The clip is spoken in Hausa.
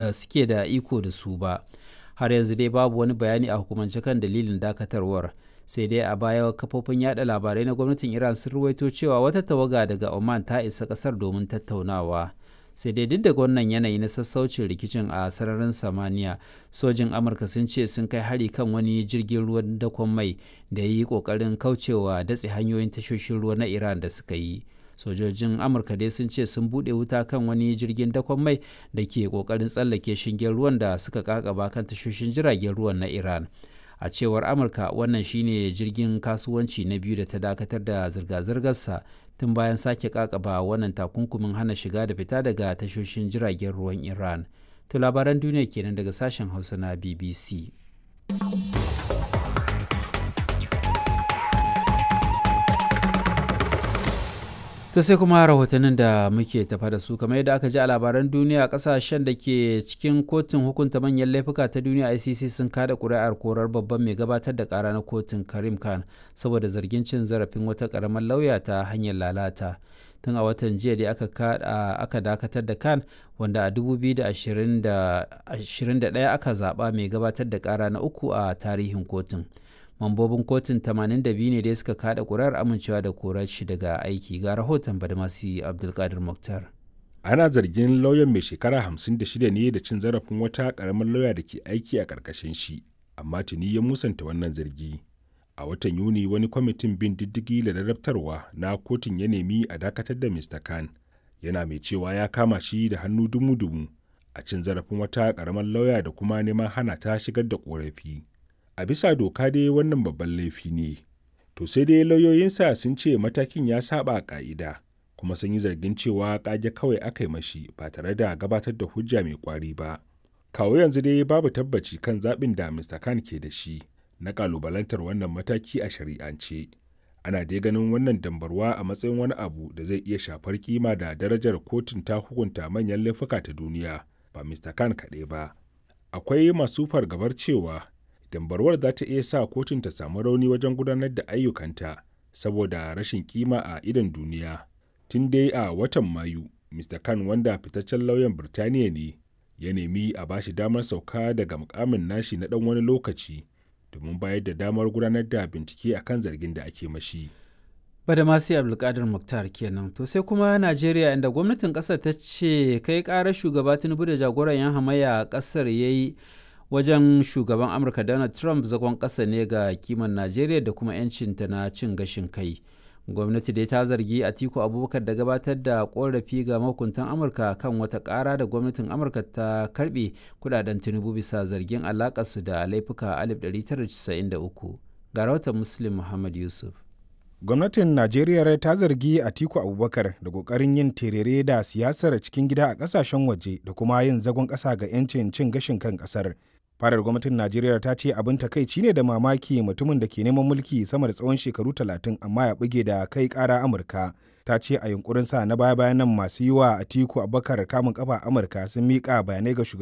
Suke da iko da su ba. Har yanzu dai babu wani bayani a hukumance kan dalilin dakatarwar, sai dai a baya kafofin yada labarai na gwamnatin Iran sun ruwaito cewa wata tawaga daga Oman ta isa kasar domin tattaunawa. Sai dai duk da wannan yanayi na sassaucin rikicin a sararin samaniya, sojin Amurka sun ce sun kai hari kan wani jirgin ruwan dakon mai da ya yi kokarin kaucewa datse hanyoyin tashoshin ruwa na Iran da suka yi. Sojojin Amurka dai sun ce sun buɗe wuta kan wani jirgin dakon mai da ke kokarin tsallake shingen ruwan da suka kakaba kan tashoshin jiragen ruwan na Iran. A cewar Amurka, wannan shine jirgin kasuwanci na biyu da ta dakatar da zirga-zirgarsa tun bayan sake kakaba wannan takunkumin hana shiga da fita daga tashoshin jiragen ruwan Iran. To, labaran duniya kenan daga sashen Hausa na BBC. To, sai kuma rahotannin da muke tafa da su. Kamar yadda aka ji a labaran duniya, kasashen da ke cikin kotun hukunta manyan laifuka ta duniya ICC sun kada kuri'ar korar babban mai gabatar da kara na kotun Karim Khan saboda zargin cin zarafin wata karamar lauya ta hanyar lalata. Tun a watan jiya da aka dakatar da Khan, wanda a 2021 aka zaba mai gabatar da kara na uku a tarihin kotun. Mambobin kotun 82 ne dai suka kada kurar amincewa da korar shi daga aiki. Ga rahoton Badamasi Abdulkadir Muktar. Ana zargin lauyan mai shekara 56 ne da cin zarafin wata karamar lauya da ke aiki a karkashin shi, amma tuni ya musanta wannan zargi. A watan Yuni wani kwamitin bin diddigi da ladabtarwa na kotun ya nemi a dakatar da Mr. Khan, yana mai cewa ya kama shi da hannu dumu-dumu a cin zarafin wata karamar lauya da kuma neman hana ta shigar da korafi. A bisa doka dai wannan babban laifi ne. To sai dai lauyoyinsa sun ce matakin ya saba ka'ida, kuma sun yi zargin cewa kage kawai aka yi mashi ba tare da gabatar da hujja mai kwari ba. Kawo yanzu dai babu tabbaci kan zaɓin da Mr. Khan ke da shi na kalubalantar wannan mataki a shari'ance. Ana dai ganin wannan dambarwa a matsayin wani abu da zai iya shafar kima da darajar kotun ta hukunta manyan laifuka ta duniya, ba Mr. Khan kaɗai ba. Akwai masu fargabar cewa dambarwar za ta iya sa kotun ta samu rauni wajen gudanar da ayyukanta saboda rashin kima a idon duniya. Tun dai a watan Mayu, Mr. Khan, wanda fitaccen lauyan Birtaniya ne, ya nemi a bashi damar sauka daga mukamin nashi na dan wani lokaci domin bayar da damar gudanar da bincike akan zargin da ake mashi. Badamasi Abdulkadir Muktar kenan. To, sai kuma Najeriya, inda gwamnatin kasar ta ce kai karar shugaba Tinubu da jagoran yan hamayya a kasar ya yi wajen shugaban Amurka Donald Trump zagon ƙasa ne ga kiman Najeriya da kuma 'yancinta na cin gashin kai. Gwamnati dai ta zargi Atiku Abubakar da gabatar da korafi ga mahukuntan Amurka kan wata ƙara da gwamnatin Amurka ta karbe kudaden Tinubu bisa zargin alakarsu da laifuka 1993. Ga rahoton Muslim Muhammad Yusuf. Gwamnatin Najeriya ta zargi Atiku Abubakar da kokarin yin terere da siyasar cikin gida a kasashen waje da kuma yin zagon ƙasa ga 'yancin cin gashin kan ƙasar. Farar gwamnatin Najeriya ta ce abin takaici ne da mamaki mutumin da ke neman mulki sama da tsawon shekaru 30 amma ya buge da kai kara Amurka. Ta ce a yunkurin sa na baya bayan nan masu yi wa Atiku Abubakar kamun kafa Amurka sun miƙa bayanai ga shugaban